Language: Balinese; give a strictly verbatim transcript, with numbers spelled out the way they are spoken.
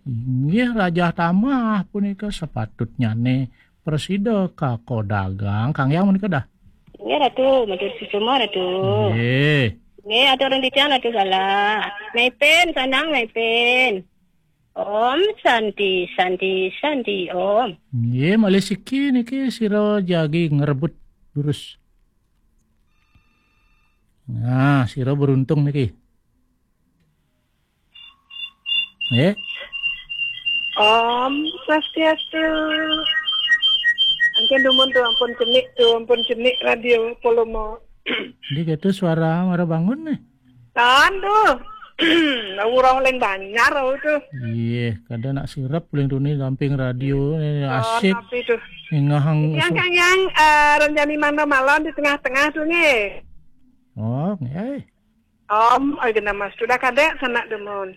Inggih, Rajah Tamah punika sapatutnyane prasida kaka dagang. Kang Hyang menika dah. Inggih, Ratu, matur suksma, Ratu. Inggih. Inggih, atur titiang, Ratu, salah. Maipin, sandang, maipin. Om Santi, Santi, Santi, Om. Nggih, malih siki niki sira jagi ngrebut durus. Nah, sira beruntung niki. Nggih. Om Swastiastu. Ampun dumun tu, ampun cenik tu, ampun cenik radio Polomo. Nggih, gitu suara mara bangun nih. Tan tu. Urang leng banjar tu. Iya, kada nak sirep leng tu nih samping radio nih, asik. Tapi tu. Ngahang. Yang kang yang eh, ranjani mangda malon di tengah-tengah tu nih. Oh, nggih. Om, oi genah mas, sudah kadek sanak dumun.